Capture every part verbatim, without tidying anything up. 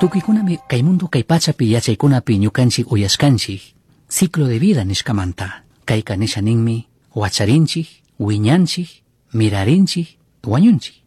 Tukuykunami kay mundo kay pachapi yachaykunapi ñukanchik uyashkanchik ciclo de vida nishkamanta. Kayka nisha ninmi wacharinchik, wiñanchik, mirarinchik, wañunchik.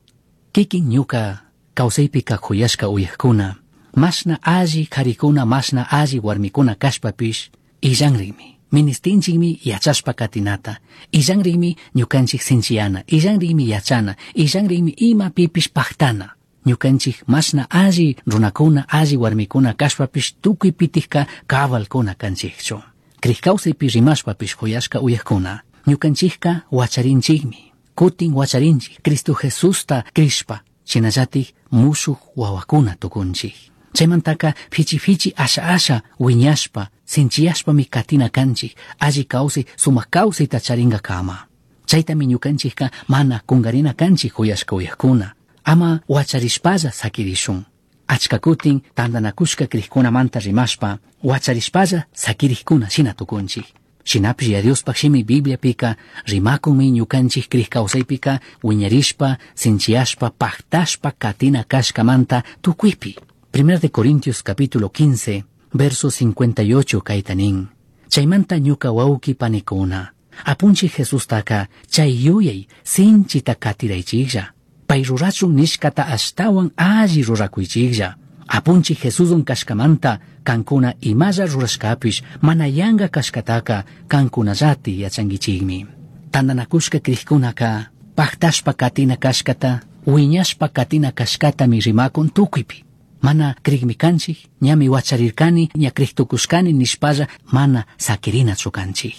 Kikin ñuka kawsaypika kuyashka uyakuna, mashna alli karikuna, mashna alli warmikuna kashpapish illanrinmi. Ministinchikmi yachashpa katinata, illanrinmi ñukanchik sinchiyana, illanrinmi yachana, illanrinmi ima pipish paktana. Ñukanchik mashna alli runakuna, alli warmikuna kashpapish tukuy pitikka kabalkuna kanchikchu. Krik kawsaypi rimashpapish kuyashka uyakuna, ñukanchikka wacharinchikmi, kutin wacharinchik, Cristo Jesusta krishpa, shinallatik mushuq wawakuna tukunchik. Chaymantaka fichi fichi asha asha wiñashpa, sinchiyashpami katina kanchik, alli kawsay, sumak kawsayta charinkakama. Chaytami ñukanchikka mana kunkarina kanchik kuyashka uyakuna. Ama wacharishpalla sakirishun. Achka kutin tantanakushka krikkunamanta rimashpa, wacharishpalla sakirikkuna shina tukunchik. Shinapish ya Diospaj shimi Bibliapika rimakunmi ñukanchik krik kawsaypika wiñarishpa, sinchiyashpa, paktashpa katina kashkamanta tukuypi. Primera de Corintios capítulo quince, verso cincuenta y ocho kayta nin. Chaymanta ñuka wawki panikuna, apunchik Jesustaka chay yuyay sinchita katiraychiklla. Pay rurachun nishkata ashtawan alli rurakuychiklla. Apunchik Jesusun kashkamanta kankuna imalla rurashkapish mana yanka kashkataka kankunallati yachankichikmi. Tantanakushka krikkunaka paktashpa katina kashkata, wiñashpa katina kashkatami rimakun tukuypi. Mana krikmi kanchik, ñami wacharirkani, ña kriktukushkani nishpalla mana sakirinachu kanchik.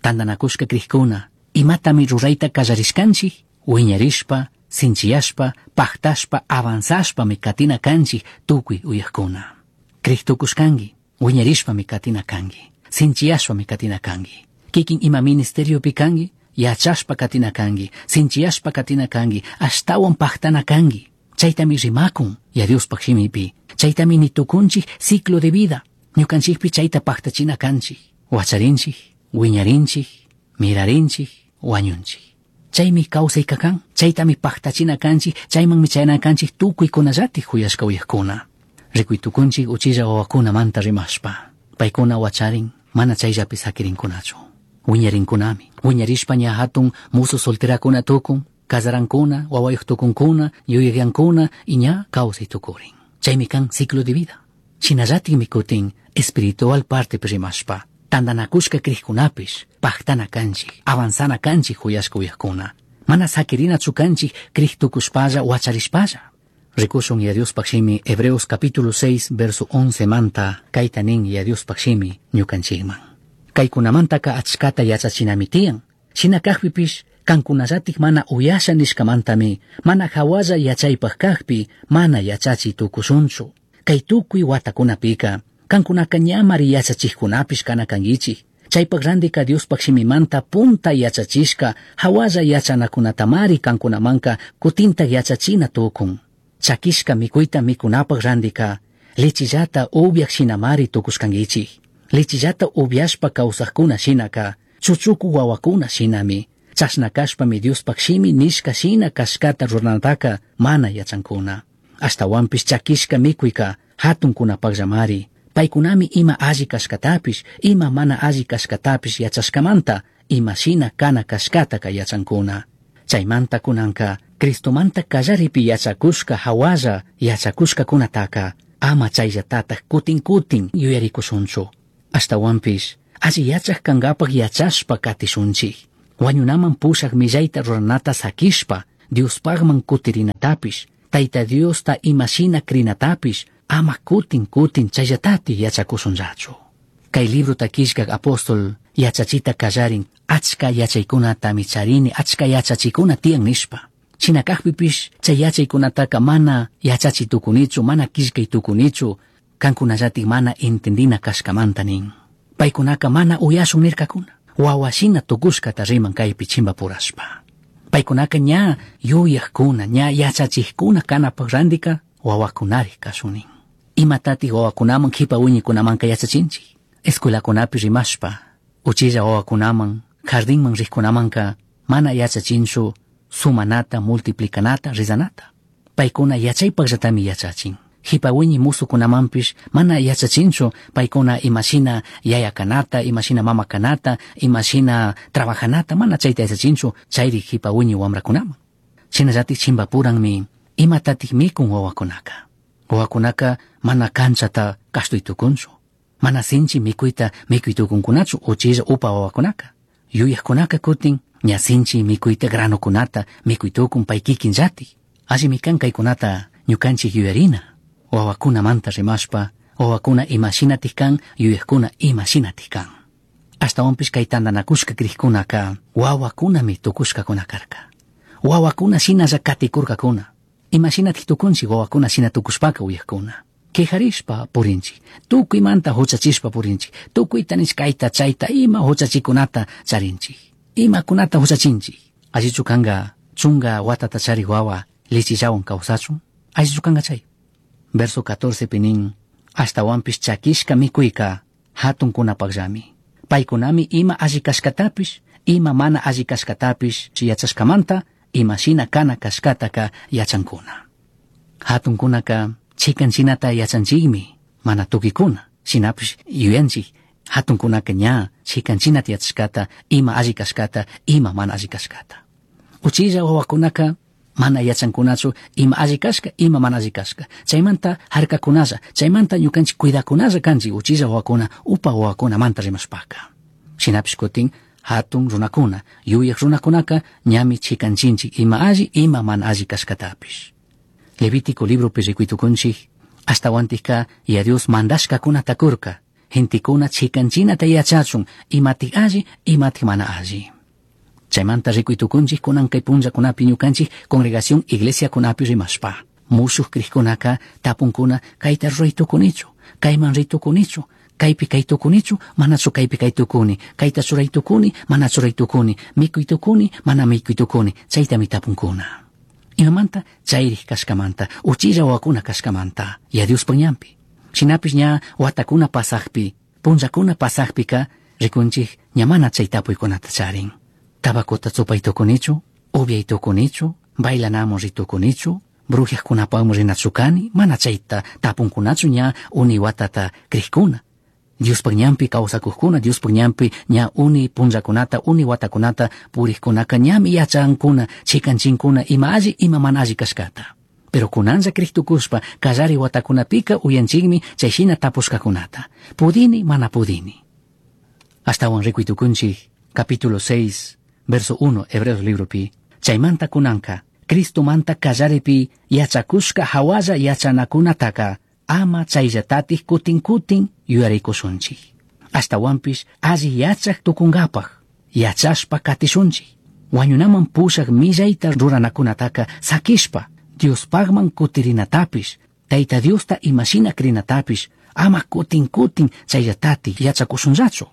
Tantanakushka krikkuna imatami rurayta kallarishkanchik, wiñarishpa, sinchiyashpa, paktashpa, avanzashpami katina kanchik tukuy uyakuna. Kriktukushkanki, wiñarishpami katina kanki, sinchiyashpami katina kanki. Kikin ima ministeriopi kanki, yachashpa katina kanki, sinchiyashpa katina kanki, ashtawan paktana kanki. Chaytami rimakun ya Diospaj shimipi, chaytami nitukunchik ciclo de vida, ñukanchikpi chayta paktachina kanchik, wacharinchik, wiñarinchik, mirarinchik, wañunchik. Chaymi kawsayka kan, chaytami paktachina kanchik, chaymanmi chayana kanchik tukuykunallatik kuyashka uyakuna. Rikuytukunchik uchilla wawakunamanta rimashpa, paykuna wacharin, mana chayllapi sakirinkunachu. Wiñarinkunami, wiñarishpa ña hatun musu solterakuna tukun, casarankuna, wawayuq tukunkuna, yuyaqyankuna y ña kawsay tukurin. Chaymi kan ciclo de vida. Shinallatikmi kutin espiritual partepi rimashpa, tantanakushka krikkunapish, paktana kanchik, avanzana kanchik kuyashka uyakuna. Mana sakirinachu kanchik krik tukushpalla wacharishpalla. Rikushun ya Diospaj shimi Hebreos capítulo seis verso once manta kayta nin ya Diospaj shimi ñukanchikman. Kaykunamantaka achkata yachachinami tiyan. Shina kajpipish kankunallatik mana uyasha nishkamantami, mana hawalla yachaypaj kajpi, mana yachachi tukushunchu. Kay tukuy watakunapika, kankunaka ñamari yachachikkunapish kana kankichik. Chaypaj randika Diospaj shimimanta punta yachachishka, hawalla yachanakunatamari kankunamanka kutinta yachachina tukun. Chakishka mikuyta mikunapaj randika, lechillata upyaj shinamari tukushkankichik. Lechillata upyashpa kawsajkuna shinaka, chuchuku wawakuna shinami. Chashna kashpami Diospaj shimi nishka shina kashkata ruranataka mana yachankuna. Ashtawanpish chakishka mikuyka hatunkunapajllamari. Paykunami ima alli kashkatapish, ima mana alli kashkatapish yachashkamanta, ima shina kana kashkataka yachankuna. Chaymanta kunanka, Cristomanta kallaripi yachakushka hawalla yachakushkakunataka, ama chayllatataj kutin kutin yuyarikushunchu. Ashtawanpish, alli yachaj kankapaj yachashpa katishunchik. Wañunaman pushaj millayta ruranata sakishpa, Diospajman kutirinatapish, Tayta Diosta imashina krinatapish, ama kutin kutin chayatati yachakushunllachu. Kay librota killkak apóstol yachachita kallarin, achka yachaykunatami charini, achka yachachikuna tiyan nishpa. Shina kajpipish chay yachaykunataka mana yachachi tukunichu, mana killkay tukunichu, kankunallatik mana entendina kashkamanta nin. Paykunaka mana uyashun nirkakuna. Wawashina tukushkata riman kaypi chimpapurashpa. Paykunaka ña yuyajkuna, ña yachachikkuna kanapaj randika wawakunarik kashunin. Imatatik wawakunaman kipa wiñikunamanka yachachinchik. Escuelakunapi rimashpa, uchilla wawakunaman, jardinman rikkunamanka mana yachachinchu sumanata, multiplicanata, rizanata. Paykuna yachaypajllatami yachachin. Jipa wiñi musukunamanpish mana yachachinchu paykuna imashina yaya kanata, imashina mama kanata, imashina trabajanata, mana chayta yachachinchu chayri jipa wiñi wamrakunaman. Shinallatik chimbapuranmi imatatik mikun wawakunaka. Wawakunaka mana kanchata kashtuy tukunchu. Mana sinchi mikuyta mikuy tukunkunachu uchilla upa wawakunaka. Yuyajkunaka kutin ña sinchi mikuyta granokunata mikuy tukun pay kikinllatik. Allimi kan kaykunata ñukanchik yuyarina. Wawakunamanta rimashpa, wawakuna imashinatik kan, yuyajkuna imashinatik kan. Ashtawanpish kay tantanakushka crijkunaka wawakunami tukushkakuna karka. Wawakuna shinalla katikurkakuna. Imashinatik tukunchik wawakuna shina tukushpaka uyajkuna. Quejarishpa purinchik, tukuymanta huchachishpa purinchik, tukuyta nish kayta chayta ima huchachikunata charinchik. Imakunata huchachinchik. Allichu kanka chunka watata charik wawa lichillawan kawsachun, allichu kanka chay. Verso catorce pinin, ashtawanpish chakishka mikuyka hatunkunapaqllami. Paykunami ima alli kashkatapish, ima mana alli kashkatapish yachashkamanta, imashina kana kashkataka yachankuna. Hatunkunaka chikan chinata yachanchikmi, mana tukikuna, shinapish yuyanchik, hatunkunaka ña chikan chinata yachashkata, ima alli kashkata, ima mana alli kashkata. Uchilla wawakunaka mana yachankunachu ima alli kashka, ima mana alli kashka. Chaymanta harkakunalla, chaymanta ñukanchik cuidakunalla kanchik uchilla wawakuna, upa wawakunamanta rimashpaka. Shinapish kutin hatun runakuna, yuyaj runakunaka ñami chikanchinchik ima alli, ima mana alli kashkatapish. Levítico libropi rikuytukunchik, ashtawantikka ya Dios mandashkakunata kurka, gentekuna chikanchinata yachachun, imatik alli, imatik mana alli. Chaymanta rikuytukunchik kunan kay punllakunapi ñukanchik congregación iglesiakunapi rimashpa. Mushuq crijkunaka tapunkuna kayta ruraytukunichu, kayman ritukunichu, kaypi kaytukunichu, manachu kaypi kaytukuni, kayta churaytukuni, mana churaytukuni, mikuytukuni, mana mikuytukuni, chaytami tapunkuna. Imamanta chayrik kashkamanta, uchilla wawakuna kashkamanta, ya Diospaq ñanpi. Shinapish ña watakuna pasaqpi, punllakuna pasaqpika, rikunchik ña mana chay tapuykunata charin. Tabacota chupaytukunichu, upiaytukunichu, bailanamun ritukunichu, brujiajkunapaqmi rinachu kani, mana chayta tapunkunachu ña uni watata crijkuna. Diospaq ñanpi kawsakuqkuna, Diospaq ñanpi ña uni punllakunata, uni watakunata puriqkunaka ñami yachankuna, chikanchinkuna ima alli, ima mana alli kashkata. Pero kunanlla crijtukushpa kallari watakunapika uyanchikmi chayshina tapushkakunata. Pudini, mana pudini. Ashtawan rikuytukunchik, capítulo seis, verso uno, Hebreos libropi. Chaymanta kunanka, Cristomanta kallaripi yachakushka hawalla yachanakunataka, ama chayllatatik kutin kutin yuyarikushunchik. Ashtawanpish alli yachak tukunkapaj, yachashpa katishunchik. Wañunaman pushak millayta ruranakunataka sakishpa, Diospaqman kutirinatapish, Tayta Diosta imashina crinatapish, ama kutin kutin chayllatatik yachakushunllachu.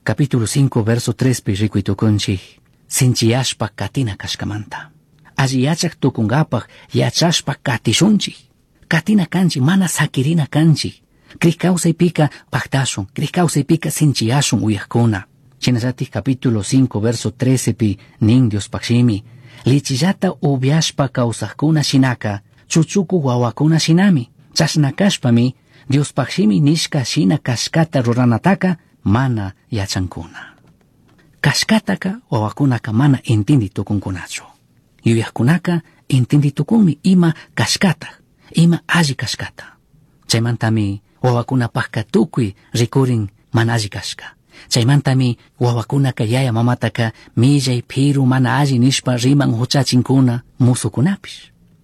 Capítulo cinco, verso tres pi rikuytukunchik, sinchiyashpa katina kashkamanta. Alli yachak tukunkapaj yachashpa katishunchik. Katina kanchik, mana sakirina kanchik. Crij kawsaypika pajtashun, crij kawsaypika sinchiyashun uyajkuna. Shinallatik capítulo cinco, verso trece pi nin Diospaq shimi, lichillata upiashpa kawsajkuna shinaka, chuchuku wawakuna shinami, chashna kashpami, Diospaq shimi nishka shina kashkata ruranataka mana yachankuna. Kashkataka wawakunaka mana intindi tukunkunachu. Yuyajkunaka intindi tukunmi ima kashkata, ima alli kashkata. Chaymantami wawakunapajka tukuy rikurin mana alli kashka. Chaymantami wawakunaka yaya mamataka millay piru mana alli nishpa riman huchachinkuna musukunapish.